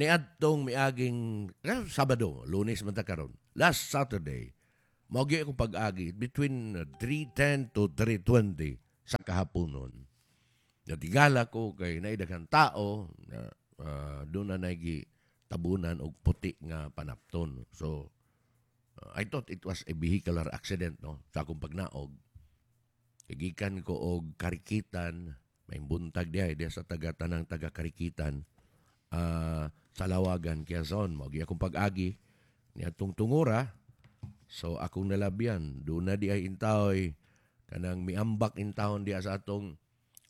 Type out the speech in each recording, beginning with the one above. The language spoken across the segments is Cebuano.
Niadtong miaging Sabado, Lunes man ta karon. Last Saturday, mao gyud akong pag-agi between 3:10 to 3:20 sa kahaponon. Natigala ko kay naay daghang tao na doon na naigi tabunan og puti nga panapton. So I thought it was a vehicular accident, no, sa akong pagnaog. Gikan ko og Karikitan, may buntag diha diha sa taga tanang taga Karikitan sa Lawagan, Quezon. Mao akong pag-agi niadtong Tungura. So akong nalabyan, doon na di ay intahoy kanang miambak intahon diha sa atong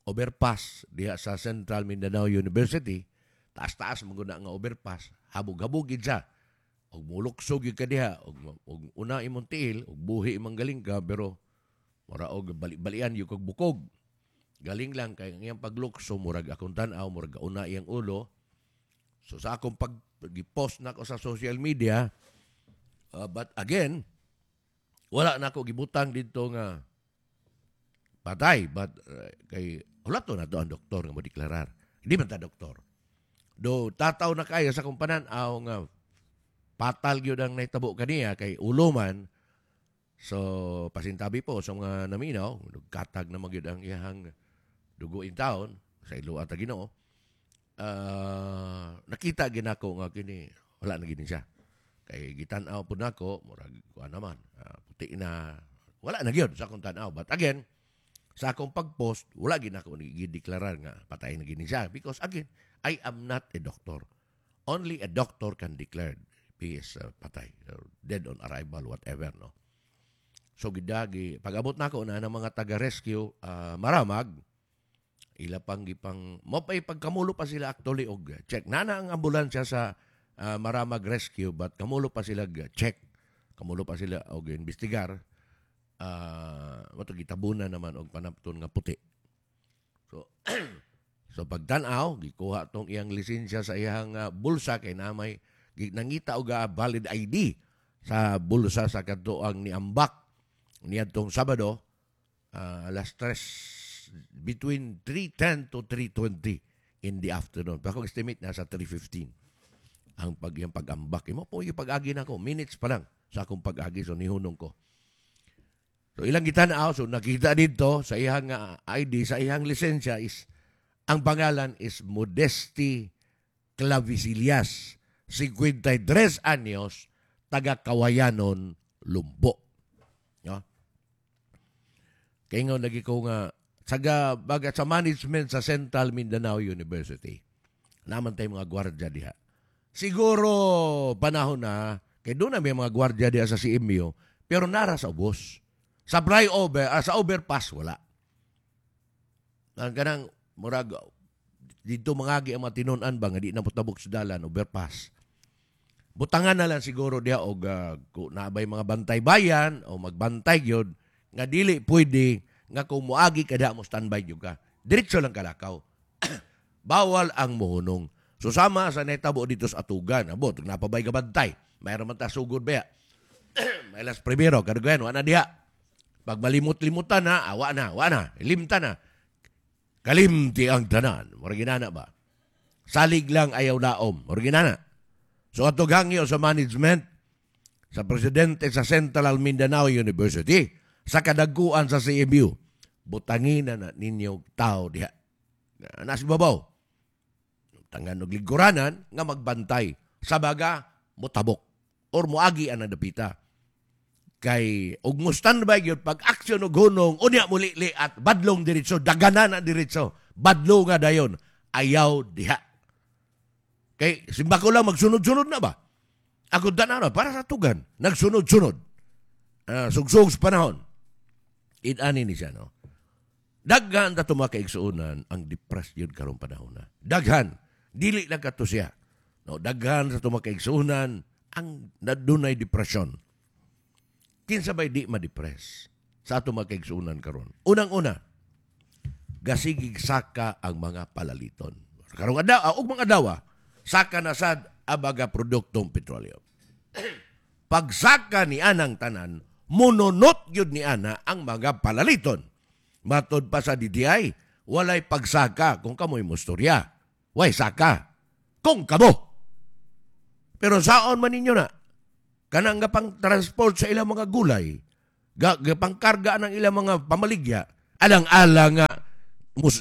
overpass diha sa Central Mindanao University. Taas-taas man gud na nga overpass, habog-habog gid siya. Og muluksog gyud ka diha, og una imong tiil, og buhi imong galing ka, pero mura og bali-balian gyud kag bukog. Galing lang kay ang iyang paglukso, murag akong tan-aw, murag una iyang ulo. So sa akong pag gi-post nako sa social media, but again, wala na ako gibutang dito nga patay, but kay wala to na to ang doktor nga mo deklarar. Hindi man ta doktor. Do tataw na kayo sa akong panan-aw nga fatal gyud ang nahitabo kaniya kay ulo man. So pasintabi po sa mga naminaw, nagkatag na magyud ang iyang dugo in town sa ilo at Ginoo. Nakita ginako nga kini wala na gini siya. Kay gitan-aw pud nako, murag kuan naman, puti na, wala na gyud sa akong tan-aw. But again, sa akong pag-post, wala gid nako gideklarar nga patay na gini siya because again, I am not a doctor. Only a doctor can declare he is patay or dead on arrival, whatever, no. So gidagi pag-abot nako na ng mga taga-rescue Maramag, ila pang gipang mo pa pagkamulo pa sila actually og check. Nana ang ambulansya sa Maramag Rescue, but kamulo pa sila check. Kamulo pa sila og investigar. Mo to gitabunan naman og panapton nga puti. So pagtan-aw, gikuha tong iyang lisensya sa iyang bulsa kay na may nangita og valid ID sa bulsa sa kadtoang niambak niadtong Sabado, alas 3, between 3:10 to 3:20 in the afternoon. Pero akong estimate nasa 3:15 ang pag iyang pag-ambak. Imo po yung pag-agi nako, minutes pa lang sa akong pag-agi, so nihunong ko. So ilang gitanaw, so nakita dito sa iyang ID, sa iyang lisensya is ang pangalan is Modesti Clavisillas, 53 años, taga Kawayanon, Lumbo. No? Kaya nga lagi ko nga sa baga sa management sa Central Mindanao University. Naman tayo mga gwardiya diha. Siguro panahon na kay doon na may mga gwardiya diha sa CMU, pero nara sa ubos. Sa flyover, sa overpass wala. Ang kanang murag dito mangagi ang mga tinun-an ba nga di na tabok sa dalan, overpass. Butangan na lang siguro diha og kung naabay mga bantay bayan o magbantay gyud nga dili pwede nga kung moagi ka mo standby gyud ka. Diretso lang kalakaw. Bawal ang muhunong. So sama sa netabo dito sa Atugan, abot napabay ka bantay. Mayroon man ta sugod ba? May las primero kadugayan wa na diha. Pag malimot-limutan na, awa na, wa na, limta na. Kalimti ang tanan. Mura ginana ba? Salig lang, ayaw laom. Mura ginana. So ato gangyo sa management, sa presidente sa Central Mindanao University, sa kadaguan sa CMU, butangin na ninyo tao diha. Nasa babaw. Tangan og lingkuranan nga magbantay. Sa baga, motabok or moagi ang dapita. Kay og mo standby gyud pag aksyon og hunong, unya mulili at badlong diretso, daganan na diretso, badlong nga dayon, ayaw diha. Kay simba ko lang magsunod-sunod na ba? Ako tanan para sa tugan, nagsunod-sunod. Sugsug sa panahon. Inani ni siya, no? Daghan ta mga kaigsuonan ang depressed yun karong panahon na. Daghan. Dili lang kato siya. No, daghan sa mga kaigsuonan ang nadunay depression. Kinsa bay di ma-depress sa ato mga kaigsuonan karon? Unang-una, gasigig saka ang mga palaliton. Karong adlaw, og mga adlaw, saka na sad abaga produktong petrolyo. Pagsaka ni anang tanan, mununot gyud ni ana ang mga palaliton. Matod pa sa DTI, walay pagsaka kung kamoy mustorya. Way saka kung kamo. Pero saon man ninyo na? Kanang nga pang transport sa ilang mga gulay, ga pangkarga ng ilang mga pamaligya, alang-alang nga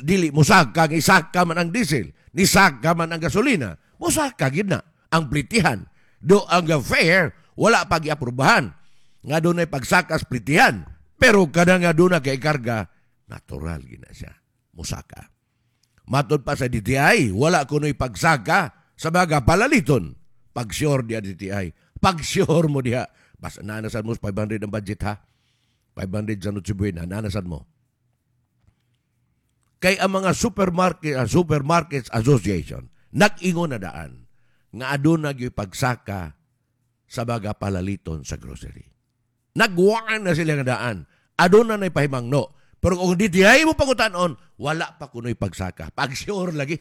dili musaka, isaka man ang diesel, nisaka man ang gasolina, musaka gid na ang plitihan. Do ang fair wala pa giaprobahan nga dunay pagsakas plitihan, pero kada nga doon na kay karga, natural gid na siya musaka. Matod pa sa DTI, wala kuno'y pagsaka sa baga palaliton. Pag-sure diha DTI, pag-sure mo diha. Basta naanasan mo 500 ang budget ha. 500 sa Noche Buena, naanasan mo. Kay ang mga Supermarkets Association, nag-ingon na daan nga aduna gyud pagsaka sa baga palaliton sa grocery. Nagwaan na sila nga daan. Aduna na'y pahimangno. Pero kung DTI mo pangutanon, wala pa kuno'y pagsaka. Pag-sure lagi.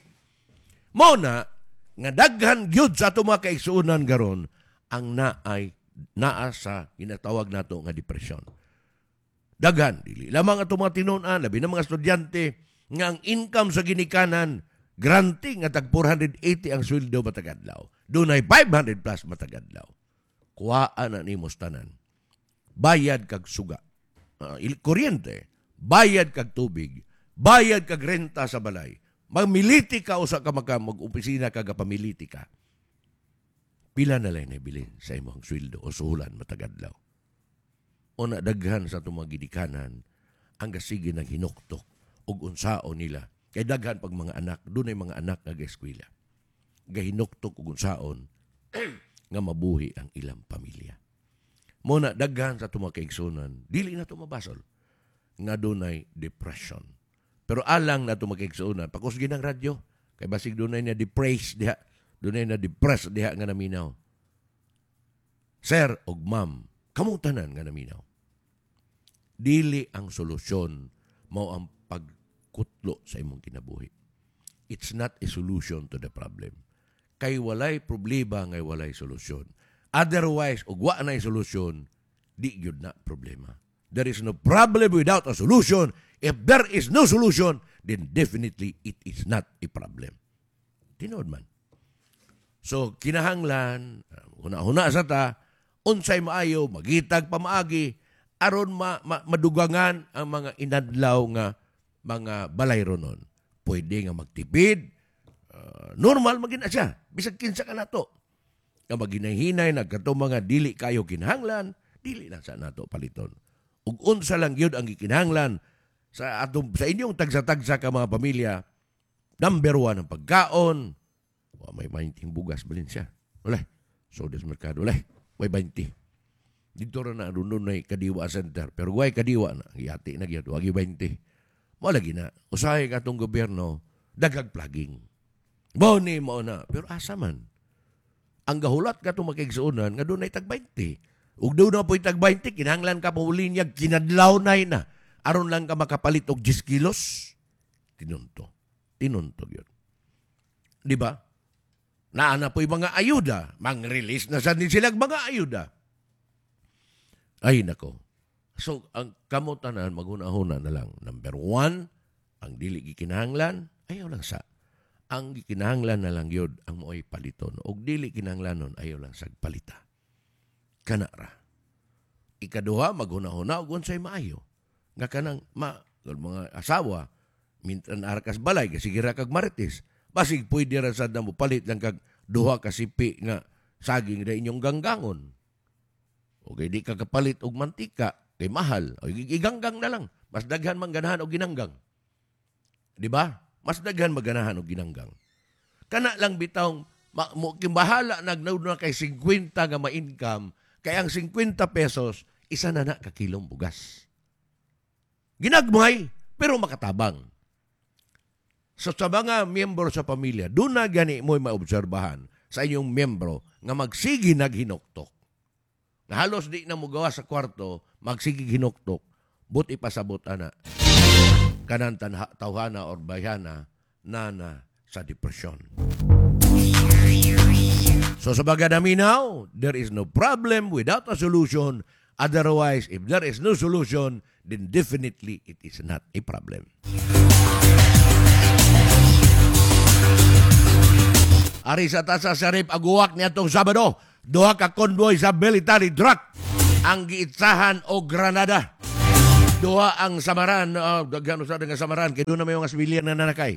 Mao na, nga daghan gyud sa ato mga kaigsuonan garon ang naay naa sa ginatawag nato nga depresyon. Daghan dili lamang ato mga tinunan, labi na mga estudyante nga ang income sa ginikanan granting nga tag 480 ang sweldo matag adlaw. Dunay 500 plus matag adlaw. Kuhaan na nimo tanan. Bayad kag suga, kuryente, bayad kag tubig, bayad kag renta sa balay. Magmiliti ka usa ka maka mag-opisina ka pamiliti ka. Pila na lang nabilin sa imong sweldo o suhulan matag adlaw. O na daghan sa atong mga gidikanan ang gasige ng hinuktok ug unsaon nila. Kay daghan pag mga anak, dunay mga anak nga gaeskwela. Gahinuktok ug unsaon nga mabuhi ang ilang pamilya. Mo na daghan sa atong mga kaigsunan, dili na to mabasol nga dunay depression. Pero alang na itong magkaigsuonan, pakusgi ng radyo, kay basig dunay na depressed diha, dunay na depressed diha nga naminaw. Sir og ma'am, kamong tanan nga naminaw. Dili ang solusyon mao ang pagkutlo sa imong kinabuhi. It's not a solution to the problem. Kay walay problema ngay walay solusyon. Otherwise, og wa na solusyon, di gyud na problema. There is no problem without a solution. If there is no solution, then definitely it is not a problem. Tinuod man. So, kinahanglan, huna-huna sa ta, unsay maayo, magitag pamaagi, aron madugangan ang mga inadlaw nga mga balayronon. Pwede nga magtipid, normal magina siya. Bisag kinsa ka nato. Nga maghinay-hinay, nagkato mga dili kayo kinahanglan, dili lang sa nato paliton. Ug unsa lang gyud ang gikinahanglan sa atong sa inyong tagsa-tagsa ka mga pamilya, number 1 ang pagkaon. Wa may 20 bugas balin siya. Wala. So des merkado wala. Way 20. Dito ra na dunay Kadiwa Center, pero way Kadiwa na giyati na gyud, wa gyud 20. Mo lagi na usahay katong gobyerno daghag plugging. Mo ni mo na, pero asa man? Ang gahulat katong makigsuonan nga dunay tag 20. Ug doon na po'y tag 20, kinahanglan ka po linyag, kinadlaw na na. Aron lang ka makapalit og 10 kilos. Tinunto. Tinunto yun. Di ba? Naa na po'y mga ayuda. Mang-release na sa din silang mga ayuda. Ay, nako. So, ang kamutanan, maghuna-huna na lang. Number 1, ang dili gikinahanglan, ayaw lang sa. Ang gikinahanglan na lang yun, ang mo'y paliton. Og dili kinahanglanon, ayaw lang sa palita. Kana ra. Ikaduha, maghuna-huna og unsay maayo. Nga kanang mga asawa, mintan arkas balay, kasi gira kag marites. Basig pwede ra sad na mo palit lang kag duha ka sipi nga saging na inyong ganggangon. O kay di ka kapalit og mantika, kay mahal. O iganggang na lang. Mas daghan man ganahan og ginanggang. Di ba? Mas daghan maganahan og ginanggang. Kana lang bitawng bahala nagnaud na kay 50 nga ma-income, kay ang 50 pesos, isa na na ka kilong bugas. Ginagmay, pero makatabang. So sa mga miyembro sa pamilya, doon na gani mo'y maobserbahan sa inyong miyembro nga magsigi naghinuktok. Nga halos di na mugawa sa kwarto, magsigi hinuktok, but ipasabot ana. Kanan tawhana or bayhana, nana sa depresyon. So sa baga naminaw, there is no problem without a solution. Otherwise, if there is no solution, then definitely it is not a problem. Ari sa Tasa Sharif Aguak niadtong Sabado, duha ka convoy sa military truck ang giitsahan og granada. Duha ang samaran, daghan usa nga samaran kay doon na may mga civilian na nanakay.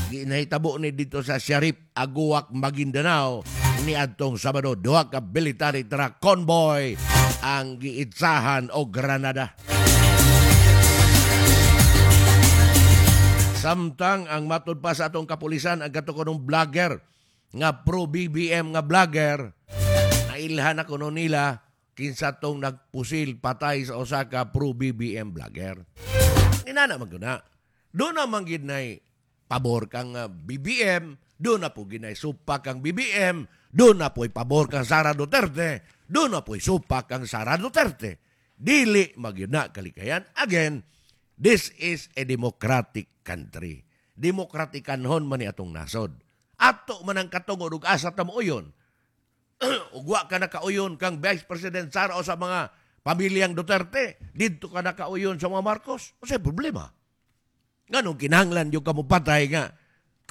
Ginahitabo ni dito sa Sharif Aguak, Maguindanao niadtong Sabado, duha ka military truck convoy ang giitsahan og granada. Samtang ang matud pa sa atong kapulisan ang kato kunong vlogger nga pro BBM nga vlogger, nailhan na kuno nila kinsa tong nagpusil patay sa usa ka pro BBM vlogger. Inana man guna. Doon naman gid nay pabor kang BBM, doon na po ginay supak kang BBM, doon na po'y pabor kang Sara Duterte, doon na po'y supak kang Sara Duterte. Dili magyud na kalikayan. Again, this is a democratic country. Demokratikanhon man ni atong nasod. Ato man ang katungod ug asa ta mo uyon. Ug wa ka nakauyon kang Vice President Sara o sa mga pamilyang Duterte, didto ka nakauyon sa mga Marcos. Unsay problema? Nganong kinahanglan yung kamupatay nga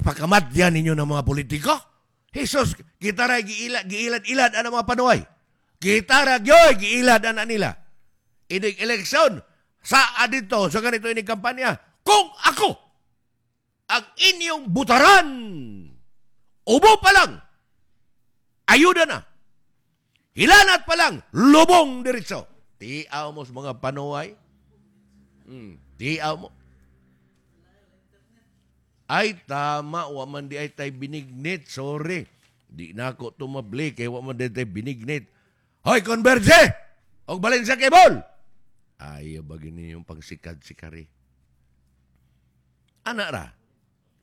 pakamatyan ninyo ng mga politiko? Jesus, kita ra giilad-ilad ang mga panuay. Kita ra gyoy giilad ana nila. Inig eleksyon sa adito sa ganito inig kampanya, kung ako ang inyong butaran, ubo pa lang, ayuda na. Hilanat pa lang, lubong diretso. Tiaw mo sa mga panuay. Tiaw mo. Ay, tama, wa man di ay tay binignit. Sorry. Di na ako tumabli, kay wa man di tay binignit. Hoy, Converge! Og balin sa cable! Ayaw ba gini yung pangsikad-sikari? Ana ra,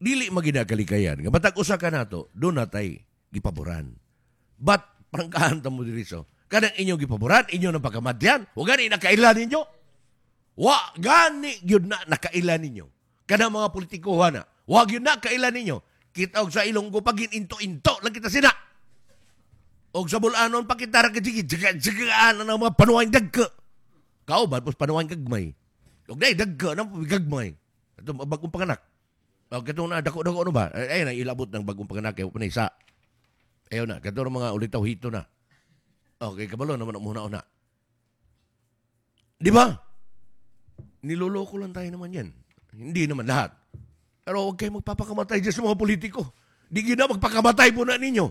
dili maginakalikayan. Nga batag usa ka nato, doon na tay gipaboran. But, prangkahan ta mo diri so. Kanang inyong gipaboran, inyo nang pagkamadyan, wa gani nakaila ninyo. Wa gani gyud na nakaila ninyo. Kanang mga politikohan na, wa gyud na kaila ninyo. Kita og sa Ilonggo pagin into-into lang kita sina. Og sa Bulanon pakita ra gid jigaan ang mga panuwang dagko. Kauban pos panuwang gagmay. Og dai dagko nang gagmay. Ato bagong panganak. Og katong na dako-dako ano ba? Ay na ilabot ng bagong panganak kay pa isa. Ayo na kadto mga ulitaw hito na. Okay, kabalo naman ang muna-una. Di ba? Niloloko lang tayo naman yan. Hindi naman lahat. Pero huwag kayo magpapakamatay dyan sa mga politiko. Di gina na magpakamatay po na ninyo.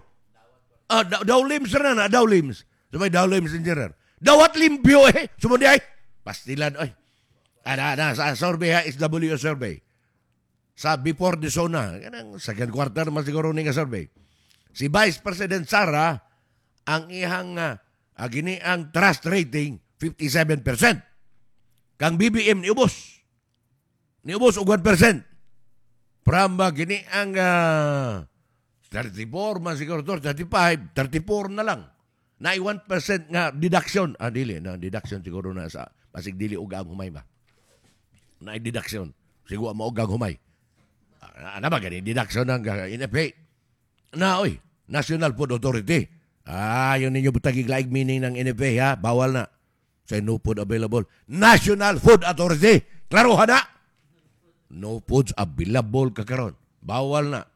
Daw limbs na na, daw limbs. Sabay daw limbs engineer. Dawat limpyo eh. Sumundi ay. Pastilan ay. Ana, sa survey ha, SW survey. Sa before the SONA, kanang second quarter man siguro ni nga survey. Si Vice President Sara, ang ihang gini ang trust rating 57%. Kang BBM niubos. Niubos og 1%. From gini ang 34 man siguro to, 35, 34 na lang. Na 1% nga deduction. Ah, dili na deduction siguro na sa pasig dili og ang humay ba. Na deduction. Siguro mo og ang humay. Ana ba gani deduction ng NFA? Na oy, National Food Authority. Ah, yun ninyo butagig laig meaning ng NFA ha, bawal na. Sa no food available. National Food Authority. Klaro ha na. No foods available kakaron. Bawal na.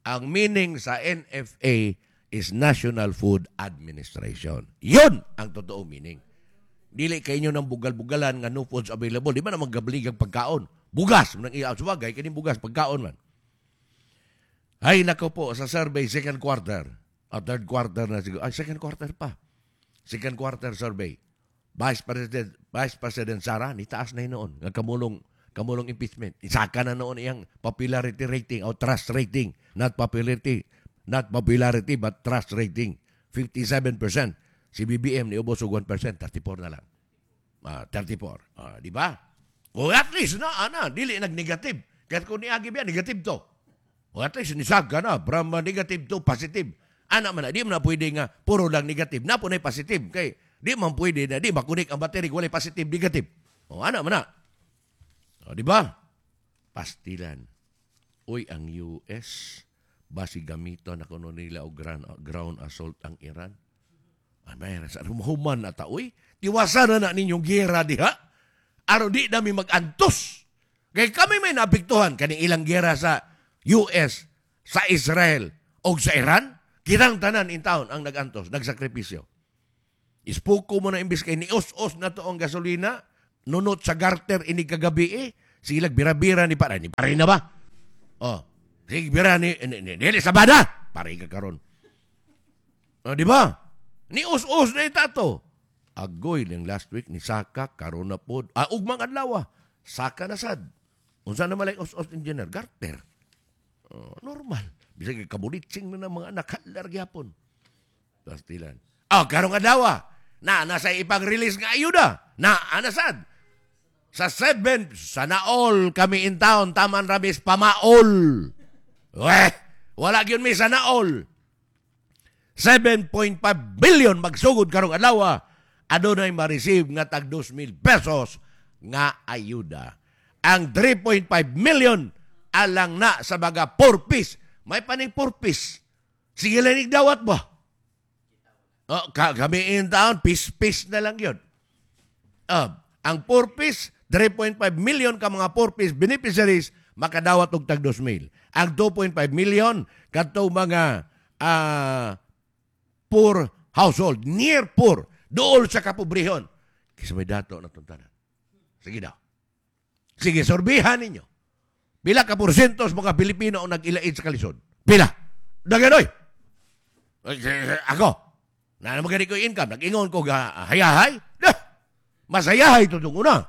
Ang meaning sa NFA is National Food Administration. Yun ang totoong meaning. Dili kay inyo ng bugal-bugalan nga no foods available. Di ba na maggablig ang pagkaon? Bugas. Manang iya, subagay, kining bugas, pagkaon man. Ay, nako po, sa survey, second quarter. Third quarter na siguro. Ay, second quarter pa. Second quarter survey. Vice President Sara, nitaas na yun noon. Nga kamulong impeachment. Isaka na noon iyang popularity rating o trust rating. Not popularity, but trust rating. 57%. Si BBM niubos og 1%, 34 na lang. 34. Di ba? O at least na, dili nag-negative. Kahit kung niagi ba, negative to. O at least nisaga na, from negative to positive. Ana man na, di man na pwede nga puro lang negative. Na po na positive. Kay di man pwede na, di makunik ang battery, walay positive, negative. O ana man na. O di ba? Pastilan. Uy, ang US, basi gamiton na kuno nila og ground assault ang Iran. Ay, may sa human na ta, uy. Tiwasan na ninyong gera diha. Aron di nami mag-antos. Kay kami may naapektuhan kaning ilang gera sa US, sa Israel, Og sa Iran, kitang tanan in town ang nagantos, nagsakripisyo. Ispuko mo na imbis kay nius-us na to ang gasolina, nunot sa garter ini kagabi eh. Silag bira-bira ni para ni pare na ba? Oh, sige bira ni dili sa bada. Pare ka karon. Oh, di ba? Ni us-us na itato. Agoy ning last week ni saka karon na pod. Ah, ugmang adlaw. Saka na sad. Unsa na malay us-us, engineer? Garter. Oh, normal. Bisag kabulitsing na ng mga anak halar gyapon. Pastilan. Oh, karong adlaw. Na nasa ipang-release nga ayuda. Na anasad. Sa 7, sana all kami in town, taman rabis pamaol. Weh, wala gyud mi sana all. 7.5 billion magsugod karong adlaw, adunay ma-receive nga tag 2,000 pesos nga ayuda. Ang 3.5 million alang na sa baga 4 piece. May paning 4 piece. Sige lang dawat ba? Oh, kami in town, piece-piece na lang yun. Ang 4 piece, 3.5 million ka mga 4 piece beneficiaries makadawat og tag 2,000. Ang 2.5 million kadto mga poor household, near poor, dool sa kapobrehon. Kaysa may dato na tanan. Sige daw. Sige, sorbihan ninyo. Pila ka porsentos mga Pilipino ang nag-ilaid sa kalisod? Pila? Daganoy. Ako, na naman gani ko income, nag-ingon ko ga hayahay. Dah, masayahay tutong una.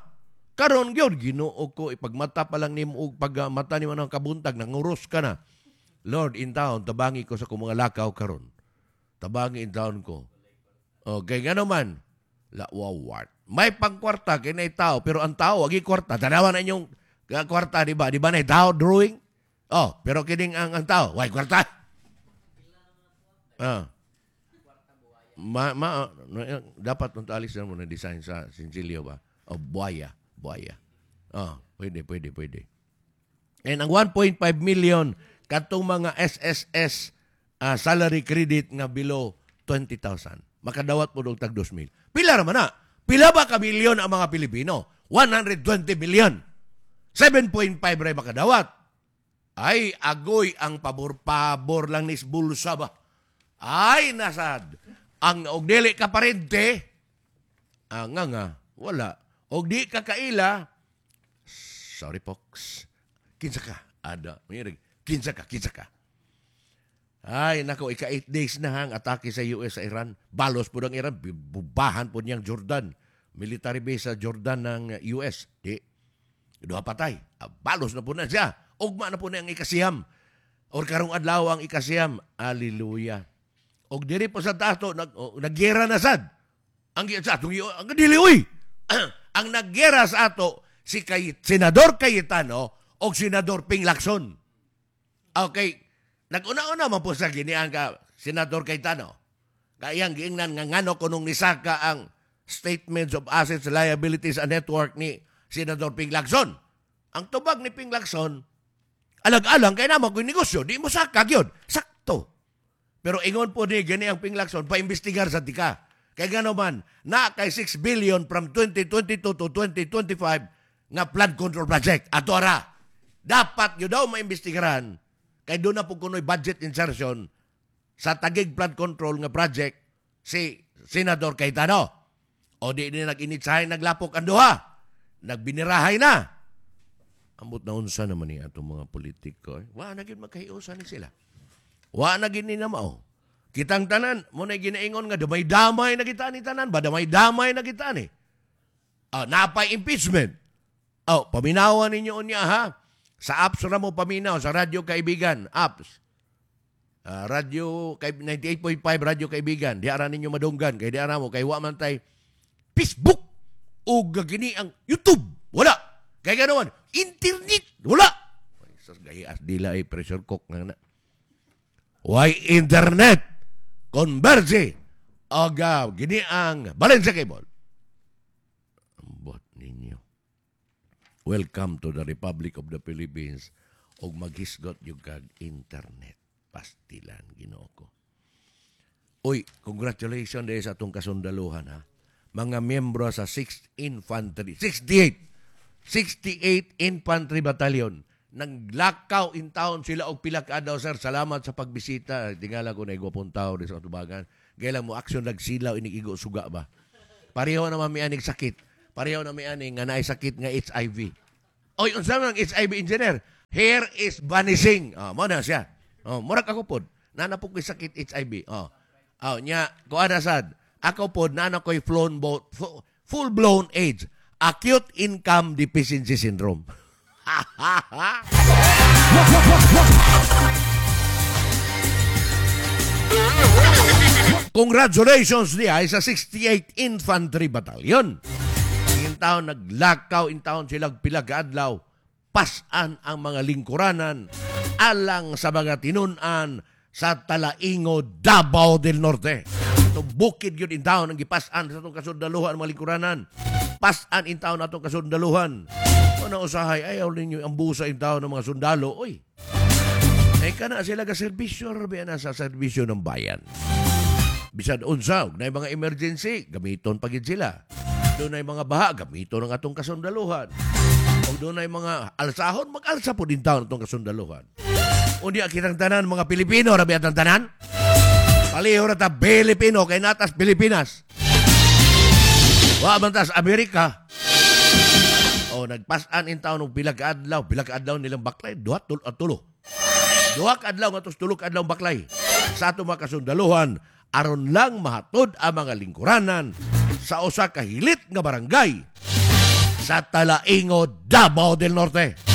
Karon gyud Ginoo ko, ipagmata pa lang nimo og pag mata nimo ng kabuntag nanguros ka na. Lord in town, tabangi ko sa akong mga lakaw karon. Tabangi in town ko. Okay, nga naman, la wawat. May pangkwarta kay nay tao, pero ang tao agi kwarta. Tanawa na inyong kwarta, di ba? Di ba na tao drawing? Oh, pero kining ang tao, way kwarta. Ah. Ma, ma, dapat nung alis na mo na design sa Sincilio ba? O buaya, buaya. Oh, pwede, pwede, pwede. And ang 1.5 million katong mga SSS salary credit nga below 20,000. Makadawat po og tag 2,000. Pila ra man na? Pila ba ka milyon ang mga Pilipino? 120 million. 7.5 ray makadawat. Ay, agoy ang pabor-pabor lang ni bulsa ba? Ay, nasad. Ang og dili ka parente, nga nga, wala. Og di ka kaila, sorry folks. Kinsa ka? Ada, mayroon. Kinsa ka, kinsa ka. Ay, nako, ika 8 days na ang atake sa US sa Iran. Balos po ng Iran, bubahan po niyang Jordan. Military base sa Jordan ng US. Di, duha patay. Balos na po na siya. Ugma na po na ang ikasiyam. Or karong adlaw ang ikasiyam. Hallelujah. Og diri po sa tato, naggera na sad. Ang sa atong ang dili uy. Ang naggera sa ato si Senador Cayetano og Senador Ping Lacson. Okay, nag-una-una man po sa giniang ka Senador Cayetano. Kayang giingnan nga ngano kunong nisaka ang statements of assets, liabilities and network ni Senador Ping Lacson. Ang tubag ni Ping Lacson, alag-alang kay naman kung negosyo, di mo saka gyud. Sakto. Pero ingon po ni gani ang Ping Lacson, paimbestigar sa tika. Kay gano man, na kay 6 billion from 2022 to 2025 nga flood control project. Ato ara, dapat yun daw maimbestigaran kay doon na po kuno'y budget insertion sa Taguig flood control nga project si Senador Cayetano. O di ni nag-initsahay, naglapok ang duha. Nagbinirahay na. Ambot na unsa naman ni atong mga politiko. Eh. Wa na gyud magkahiusa ni sila. Wa na gyud ni na mao. Kitang tanan, mo na ginaingon nga damay-damay na kita ni tanan, ba damay-damay na kita ni. Napay impeachment. Oh, paminawan ninyo unya ha. Sa apps ra mo paminaw, sa Radyo Kaibigan, apps. Radyo 98.5 Radyo Kaibigan, di ara ninyo madunggan kay di ara mo kay wa man tay Facebook o gini ang YouTube. Wala. Kay ganoon, internet wala. Sa gayas dila ay pressure cook nga na. Why internet? Converge. Aga, gini ang Valencia Cable. Ambot ninyo. Welcome to the Republic of the Philippines. Og maghisgot yung kag internet. Pastilan, Ginoo ko. Uy, congratulations dahil sa atong kasundaluhan ha. Mga miyembro sa 6th Infantry, 68 Infantry Battalion, Naglakaw in town sila og pila ka adlaw, sir. Salamat sa pagbisita. Tingala ko na gwapong tao di sa tubangan. Gaya mo aksyon nagsilaw inig igo suga ba. Pareho naman mi aning sakit. Pareho na mi ani nga naay sakit nga HIV. Oy, unsa man ang HIV, engineer? Hair is vanishing. Oh, mo na siya. Oh, murag ako pod. Nana po ko'y sakit HIV. Oh. Oh, nya, kuan na sad. Ako pod nana ko'y full blown AIDS. Acute income deficiency syndrome. Congratulations niya sa 68 Infantry Battalion. In taon naglakaw in taon sila pila ka adlaw, pasan ang mga lingkuranan alang sa mga tinun-an sa Talaingo, Davao del Norte. Ito bukid yun in taon ang gipasan sa itong kasundaluhan mga lingkuranan. Pasan in taon atong kasundaluhan. Una usahay, ayaw ninyo ang busa in taon ng mga sundalo. Uy, ay kana sila ka serbisyo, rabi na sa serbisyo ng bayan. Bisan unsa, og naay mga emergency, gamiton pagid sila. Doon ay mga baha, gamiton ang atong kasundaluhan. O doon ay mga alsahon, mag-alsa po din taon atong kasundaluhan. Unya kitang tanan, mga Pilipino, rabi atong tanan. Paliho ra ta Pilipino, kay natas Pilipinas. Wa man tas Amerika. O nagpasan in taon og pila ka adlaw nilang baklay, duha tul at tulo. Duha ka adlaw ngadto tulo ka adlaw baklay sa ato mga kasundaluhan aron lang mahatod ang mga lingkuranan sa usa ka hilit nga barangay sa Talaingo, Davao del Norte.